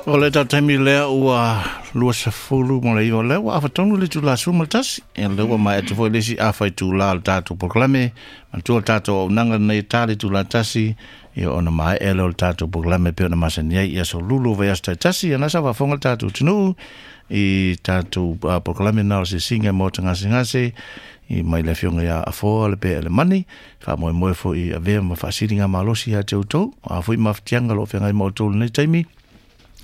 O le taimi lea ua 29, lea ua afa tonu le itula 11. Ia lea ua maea atu foi le isi afa itula o le tatou polokalame. Manatua le tatou auaunaga lenei e ta le itula 1, ia ona maea lea o le tatou polokalame pei ona masani ai i aso lulu o vaiaso taitasi. Ia na sa faafofoga le tatou atunuu i tatou polokalame na o le Asiasiga Maota Gasegase i mai le afioga ia Afoa le Pea Elemani. Faamoemoe foi i avea ma faasiligamalosi ia te outou, a foi mafatiaga o lo o feagai ma outou i lenei taimi.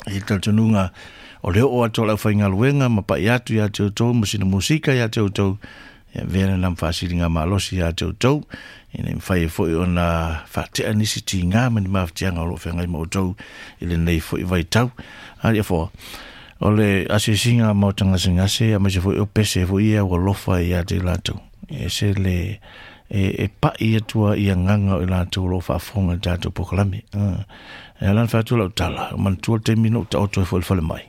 I le talitonuga o le oo atu o le aufaigaluega ma pai atu ia te outou ma sina musika ia te outou, ia avea lena ma faasiligamalosi ia te outou, ina ia mafai ai foi ona faatea nisi tiga ma ni mafatiaga o lo o feagai ma outou i lenei foi vaitau. A Afoa, o le asiasiga maota gasegase aemaise foi o pese foi ia ua lofa ia te i latou, e ese le e pai atu ai agaga o i latou o lo o faafofoga i le tatou polokalame. E ala ona fai atu lau tala, manatua le taimi na ou taoto ai foi i le falemai.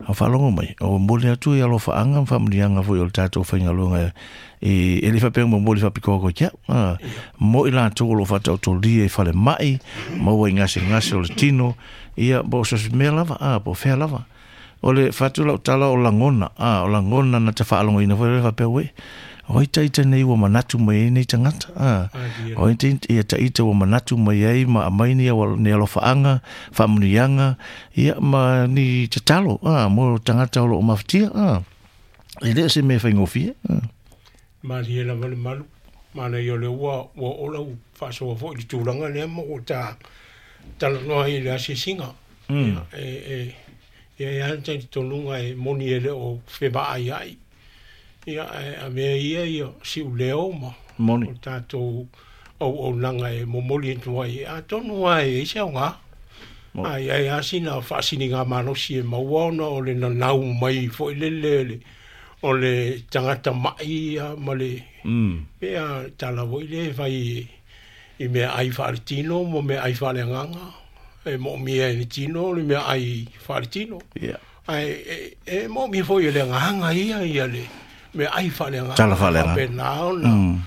A faalogo mai, o momoli atu i alofaaga ma faamanuiaga foi o le tatou faigaluega e le faapea momoli faapitoa koe te au. Mo i latou o lo o faataotolia i falemai, maua i gasegase o le tino, ia, po o se mea lava, po o fea lava. O le fai atu lau tala o lagona, o lagona na te faalogoina foi le faapea, uē, o ai taita nei ua manatu mai ai nei tagata, o ai ia taita ua manatu mai ai ma aumai ni ni alofaaga, faamanuiaga, ia ma ni tatalo, mo tagata o lo o mafatia, e le o se mea faigofie. Malie lava le malu, manaia o lea ua oo lau faasoa foi i le tulaga lea ma ua ta talanoa ai i le asiasiga. E i ai lava le talitonuga e moni e le o fevaaiai, ia, ae avea ia ia siuleo ma Moni. o tatou auaunaga e momoli atu ai, atonu lava e i ai se aoga. A i ai lava sina faasiligamalosi e maua ona o le nanau mai foi lele o le tagata mai ia ma le pe a tala foi lea e fai i meaai faaletino ma meaai faaleagaga, e moomia e le tino le meaai faaletino. Ae e moomia foi e le agaga ia ia le meaai faaleagaga. Tala faaleagaga. Faapena ona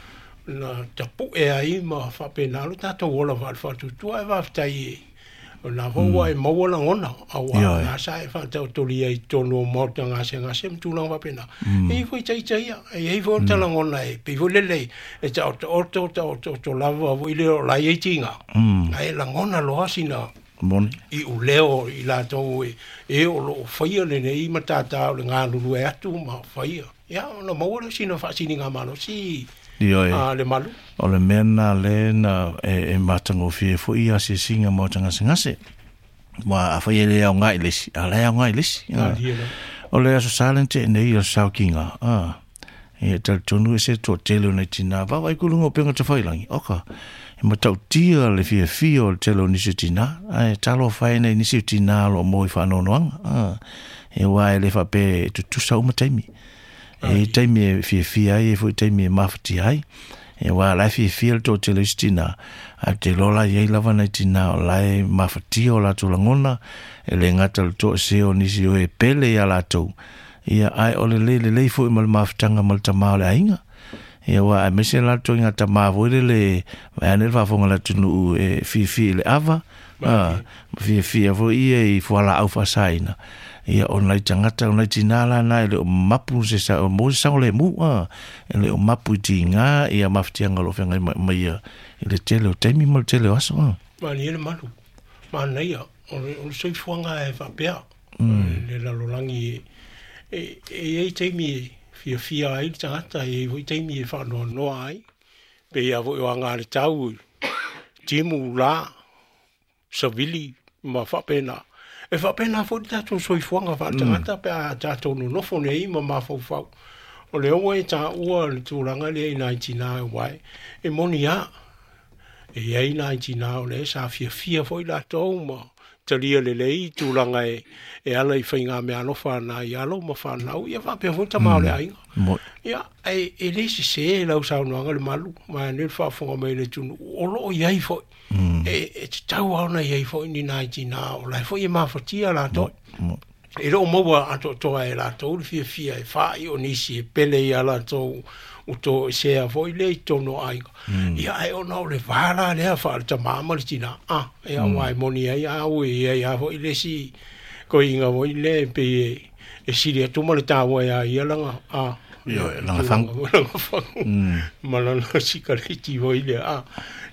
na tapue ai ma faapena lo tatou ola faale-faatuatua. Ae faafetai o lena foi ua e maua lagona, aua na sa e faataotolia i totonu o maota gasegase ma tulaga faapena. E i ai foi taita ia, e i ai foi o ta lagona e pei foi lele e taotooto, taotooto lava foi lea o la e i ai tiga. Ae lagona loa sina Moni. iuleo i latou e o lo o faia lenei matata o le galulue atu ma faia. Ia, ona maua lea o sina faasiligamalosi Ioe. le malu. O le mea lena lea na e matagofie foi i asiasiga maota gasegase. Aua afai e le aoga i le isi, a o la e aoga i le isi. Malie lava. O le Aso Sa le na tea nei o le saokiga, e talitonu e se toatele o nai tinā vaavaai ku luga o upega tafailagi, oka, e matautia le fiafia o le tele o nisi o tinā, ae talofa e nai nisi o tinā o lo o maua i faanoanoaga, e aua e le faapea e tutusa uma taimi. E i ai taimi e fiafia ai, e i ai foi taimi e mafatia ai. E aua o la e fiafia le toatele o isi tinā, ae ou te iloa la e i ai lava nai tinā o la e mafatia o latou lagona, e le gata i le toesea o nisi o e pele iā latou, ia, ae o le le lelei foi ma le mafutaga ma le tama o le aiga. Ia, aua aemaise la le ituaiga tama foi lele, vaeane le faafofoga a le atunuu e fiafia i le ava, a, ma fiafia foi ia i fualaau faasaina. Ia, o nai tagata, o nai tinā la na e le o mapu se sa, o maua se saogalemu, a, e le o mapu i tiga ia mafatiaga o lo o feagai ma, ma ia i le tele o taimi ma le tele o aso, a. Malie le malu, manaia, o le, o le soifuaga e faapea. Le lalolagi e i ai taimi e fiafia ai le tagata, e i ai foi taimi e faanoanoa ai. Pei lava foi o aga a le tau, timu, la, savili ma faapena. E faapena foi le tatou soifuaga faaletagata pe a tatou nonofo nei ma mafaufau. O lea ua e taua le tulaga lea i nai tinā aua e moni lava. E i ai nai tinā o lea sa fiafia foi latou ma talia lelei tulaga e ala i faigameaalofa a nai alo ma fanau, ia faapea foi tama o le aiga. Ia, ae e le sese lau saunoaga le malu, vaeane le faafofoga mai a le atunuu, o lo o i ai foi. E tatau lava ona i ai foi ni nai tinā o la e foi e mafatia latou. E le o maua atoatoa e latou le fiafia e faai o nisi e pele iā latou ua toesea foi lea i totonu o aiga. Ia, ae ona o le va la lea faale-tama ma le tinā, a, ia, aua e moni ai au e i ai lava foi le isi Koiga foi lea e pei e sili atu ma le taua ia ia laga a Ioe, laga fagu. Laga fagu ma lana sikareti foi lea a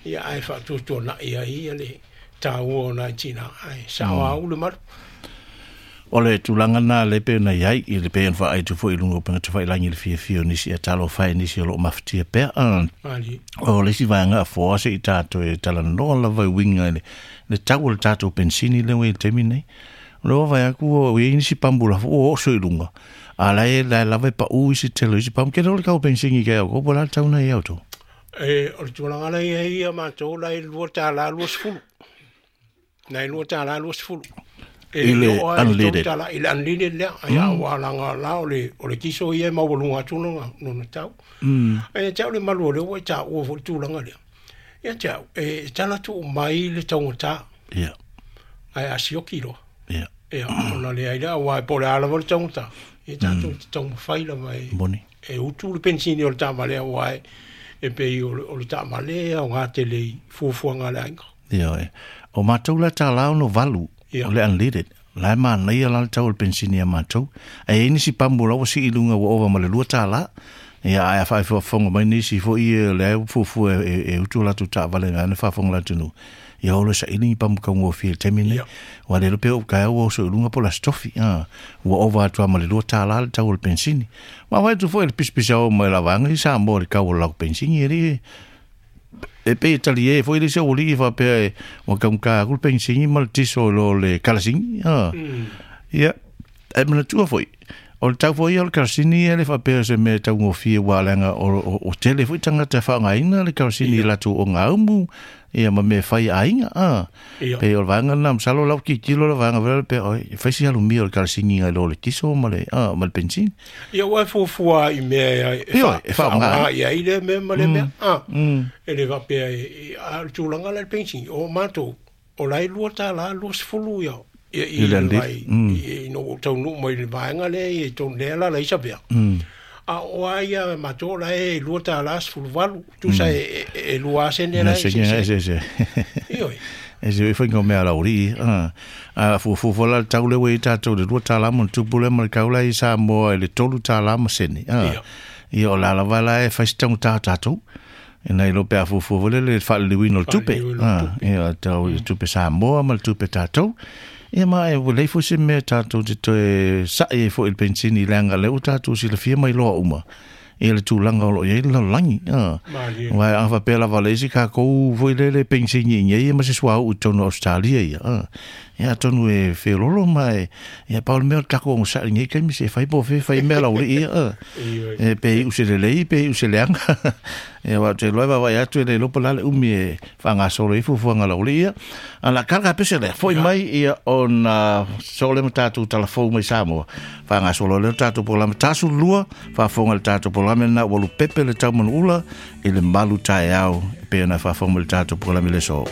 ia ae faatuatuana'i ai ia le taua o nai tinā ae sa'o au le malu. O le tulaga na le pe na iai i le pe ona faaitu foi i luga o upega tafailagi le fiafia o nisi e talofa e nisi o loo mafatia pea. O le isi vaega afoa se i tatou e talanoa lava i uiga i le tau o le tatou pensini lea ua i le taimi nei. O le ua vaai atu ua i ai nisi pamu lafo ua oso i luga, a la e la lava e pau isi tele o isi pamu. Ke le o le tau pensini ke au, ko po la le tau na i au tō? E, o le tulaga la i ai ia matou la e $2.20. Na e $2.20. I le unleaded. I le unleaded lea. Ia ua laga la o le kiso ia e maualuga atu lona tau. Ae te au le malu o lea ua i taua foi le tulaga lea. Ia te au, e tala tuu mai le taugata. Ia. Ae a sioki loa. Ia. Ia, ona leai lea, aua e po o le a lava le taugata. Ia tatou te taumafai lava e Moni. E utu le pensini o le taavale aua e pei o le taavale e aoga tele i fuafuaga a le aiga. Ia, o matou la $1.68 o le unleaded. La e manaia la le tau o le pensini a matou. Ae i ai nisi pamu la ua sii i luga ua ova ma le $2. Ia, ae a faafofoga mai nisi foi ia o lea ua fuafua e utu o latou taavale vaeane le faafofoga a le atunuu. Ia o lo saili ni pamu taugofie i le taimi lenei. Ua le iloa pe oo taeao ua oso i luga po o le Aso Tofi. Ua ova atu lava ma le $2 le tau o le pensini. Vaavaai atu foi i le pisapisa oo mai o la vaega i Samoa i le tau o le latou pensini e le e pei e talie foi le isi aualii faapea e ua taugata atu le pensini ma le tiso i lo le kalasini. Ia, e manatua foi, o le tau foi ia o le kalasini e le faapea o se mea e taugofie aua leaga o tele foi tagata e faaaogaina le kalasini i latou ogaumu ia ma mea e fai a aiga. Pei o le vaega lena, masalo o lau tilotilo le vaega foi lea pei e fai si alumia o le kalasini nai lo le tiso ma le ma le pensini. Ia ua e fuafua i mea e e faaaoga i ai lea mea ma lea mea. E le faapea a o le tulaga la i le pensini, o matou, o la e $2.20 ia ia i le vai ina ua ou taunuu mai i le vaega lea i totonu lea la laisa pea. A o a ia matou la e $2.18, tusa e 2 sene la e eseese. Ioe. E se i whainga o mea lauri. A fuafua foi la le tau lea ua i ai tatou i le $2 ma ona tupu lea ma le tau la i Samoa i le $3 ma sene. Ia o la lava la e fai si taugata o tatou. Ina iloa pe a fuafua foi lele i le faaliliuina o le tupe. Ia tau i le tupe Samoa ma le tupe tatou. Ia ma e ua leai foi se mea tatou te toe sa'i ai foi i le pensini leaga o lea ua tatou silafia ma iloa uma ia le tulaga o lo o i ai le lalolagi. Aua a faapea lava o le isi tatou foi lele pensini i inei ma se suauu i totonu o Ausetalia ia, ia atonu e feololo ma e, ia pau le mea o le tatou onosai i lenei taimi se fai po o fea e fai mea laulii ia, e pe iu se lelei pe iu se leaga. Ia aua ou te iloa e vaavaai atu e le iloa po o le a le umi e faagasolo ai fuafuaga a laulii ia. A o le a tala ka pese lea, foi mai ia ona soo lea ma tatou talafou mai Samoa, faagasolo ai lea le tatou polokalame 42, faafofoga i le tatou polokalame lena ua lupepe le taumanuula i le malu taeao e pei ona faafofoga mai i le tatou polokalame i le aso.